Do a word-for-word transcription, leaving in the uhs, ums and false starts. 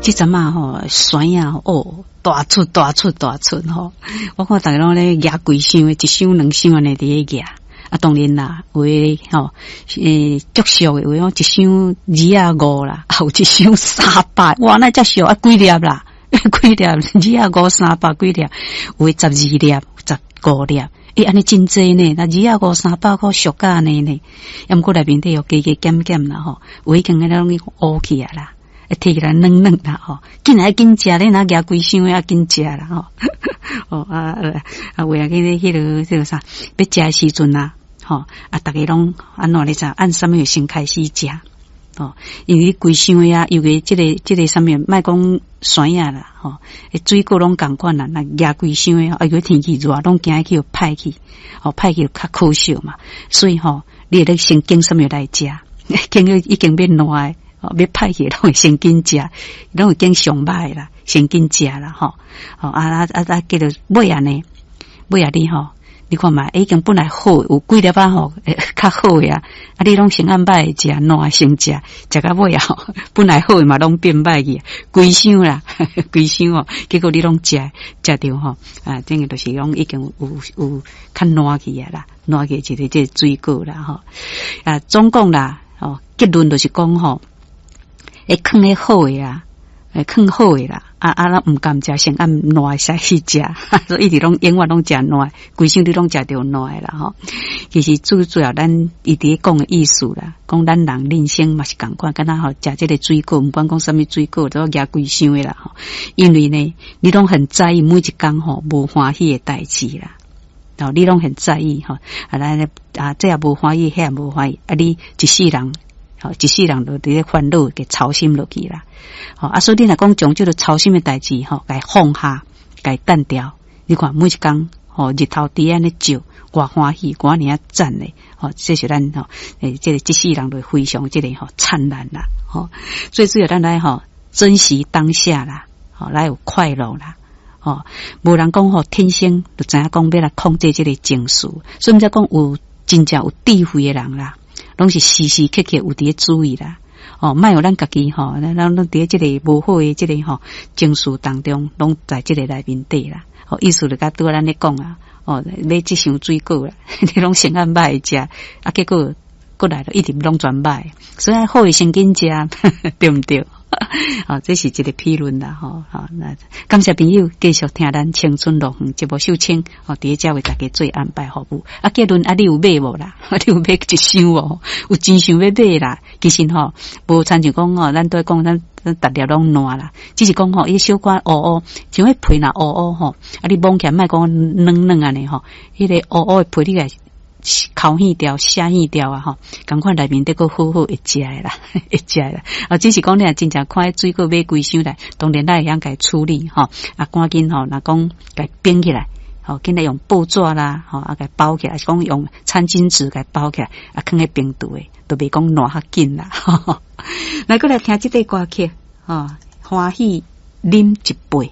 這陣仔吼，酸啊哦，大出大出大出吼！我看逐家攏咧舉規箱的，一箱兩箱按呢佇咧舉。啊，當然啦，有的吼，欸，足俗的，有的講一箱二仔五啦，啊，有一箱三百，哇，那遮俗啊，幾粒啦，幾粒二仔五三百幾粒，有的十二粒、十五粒，欸，按呢真濟呢，若二仔五三百箍俗甲按呢呢，啊，毋過內面底有加加減減啦吼，有已經彼攏去烏起啊啦。會提起來軟軟啦吼，緊來緊食，你若舉規箱的啊緊食啦吼。哦啊啊，有影緊彼彼個彼個啥，欲食的時陣啊，吼啊，逐家攏按怎你知？按啥物先開始食？吼，因為規箱的啊，尤其這個這個啥物，莫講酸仔啦，吼，水果攏仝款啦，若舉規箱的，啊，如果天氣熱，攏驚去予歹去，吼，歹去較可惜嘛。所以吼，你會得先揀啥物來食，揀彼已經欲爛的。哦，欲歹去攏會先緊食，攏會揀上歹啦，先緊食啦，吼。哦啊啊啊啊，結果尾仔呢，尾仔你吼，你看覓，已經本來好，有幾粒仔吼，較好的啊，啊，你攏先按歹的食，爛先食，食到尾仔吼，本來好的嘛攏變歹去，規箱啦，規箱哦，結果你攏食食著吼，啊，這個就是講已經有有較爛去啊啦，爛去一個這個水果啦，吼。啊，總共啦，哦，結論就是講吼。會囥彼好的啊，會囥好的啦，啊啊，咱毋甘食，先按爛的使去食，所以一直攏永遠攏食爛，規箱你攏食著爛的啦吼。其實最主要，咱伊佇咧講的意思啦，講咱人人生嘛是仝款，敢若吼食這個水果，毋管講啥物水果，都舉規箱的啦吼。因為呢，你攏很在意每一工吼無歡喜的代誌啦。哦，你攏很在意吼，啊，咱啊，這也無歡喜，彼也無歡喜，啊，你一世人。吼，一世人都佇咧煩惱，給操心落去啦。吼，啊，所以你若講將這個操心的代誌，吼，共放下，共澹掉。你看每一工，吼，日頭佇按呢照，偌歡喜，偌爾讚咧。吼，這是咱吼，欸，這個這世人就非常這個吼燦爛啦。吼，最主要咱來吼珍惜當下啦，吼，來有快樂啦。吼，無人講吼天生就知影講欲來控制這個情緒，所以毋才講有真正有智慧的人啦。攏是時時刻刻有佇咧注意啦，哦，莫予咱家己吼，咱咱攏佇咧這個無好的這個吼情緒當中，攏在這個內面底啦。哦，意思就佮拄仔咱咧講啊，哦，買這箱水果啦，你攏先按歹的食，啊，結果過來了一直攏全歹，所以好的先緊食，對毋對？哦，這是一個評論啦，吼，好，那感謝朋友繼續聽咱青春樂園節目秀清，哦，佇遮為大家做安排服務。啊，結論啊，你有買無啦？你有買一箱無？有真想欲買啦。其實吼，無親像講吼，咱都講咱咱逐粒攏爛啦，只是講吼，伊小可烏烏，像彼皮若烏烏吼，啊，你摸起來莫講軟軟按呢吼，彼個烏烏的皮你共剾去掉、寫去掉啊吼，仝款內面得閣好好會食的啦，會食的啦。啊，只是講你若真正看彼水果買規箱來，當然咱會曉共處理吼，啊，趕緊吼，若講共冰起來，吼，緊來用報紙啦，吼，啊，共包起來，是講用餐巾紙共包起來，啊，囥佇冰櫥的，都袂講爛較緊啦。來，閣來聽這塊歌曲，吼，歡喜啉一杯。